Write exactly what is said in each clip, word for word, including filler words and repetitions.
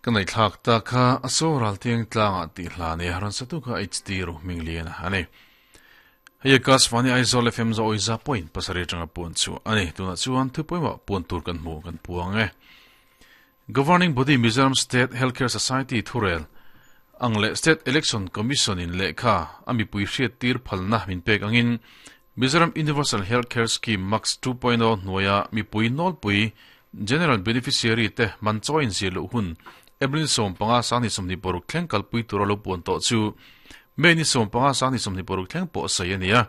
Kan nei thlak ta kha aso ral tiang tlanga ti hla ne haran satu kha H D ru minglian ani. Hei kas fani Aizawl F M zo oiza point pasari tanga pun chu ani. Tuna chuan thu poima pun tur kan mu kan puang e. Governing Body Mizoram State Healthcare Society thurel angle State Election Commission in lekha ami pui hriat tir phalna min pek angin Mizoram Universal Healthcare Scheme Max two point zero noya mi pui nol pui General Beneficiary te man choin zilu hun April som panga sang ni som ni poruk thleng kalpui tur lo pun to chu me ni som panga sang ni som ni poruk thleng po sai ania.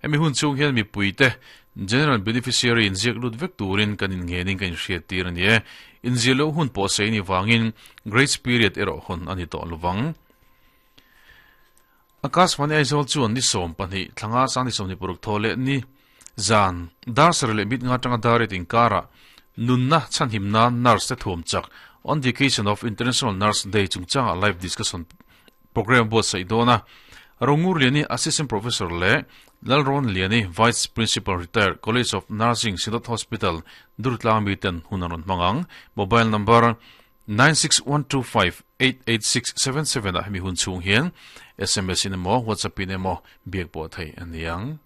Emi hun chung hian mi pui te General Beneficiary in ziak lut vek turin kan in ngening kan hriat tir ani e. In zilo hun po sei ni wangin grace period ero hon ani to luwang. Akas mani Aizawl chuan ni som pahnih thlanga sang ni som ni poruk thole ni zan dar sar le mit nga tanga dar tin kara nunna chanhim na nurse te thuam chak on the occasion of International Nurse Day chungchanga live discussion program bo sai dona. Rongur Liani, Assistant Professor, le Lalron Liani, Vice Principal Retired, College of Nursing, Synod Hospital, Durtlang mi ten hunaron mangang. Mobile number nine six one two five eight eight six seven seven a hemi hun chung hian S M S in emaw WhatsApp in emaw biak pawh thei aniang.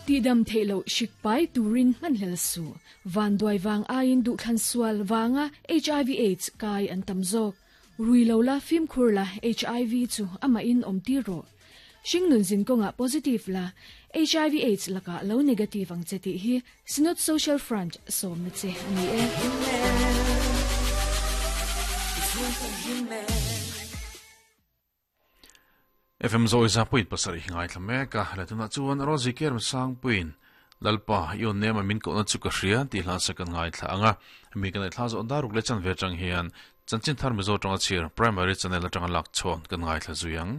Ti dam theilo shik pai turin man hlel su van doi wang ain du thlan sual wanga H I V AIDS kai an tamzok rui lo la phim khur la H I V chu ama in om ti ro shingnun zin ko nga positive la H I V AIDS laka lo negative ang cheti hi Synod Social Front som na che ani e. F M zo isa puit pasari hingai thlame ka latuna chuan rozi ker sang puin lalpa yon nema min ko na chu ka hria ti hla sakan ngai thla anga. Mi kan thla zo daruk le chan ve chang hian chanchin thar mi zo tanga chir Primary Channel atanga lak chon kan ngai thla zuyang.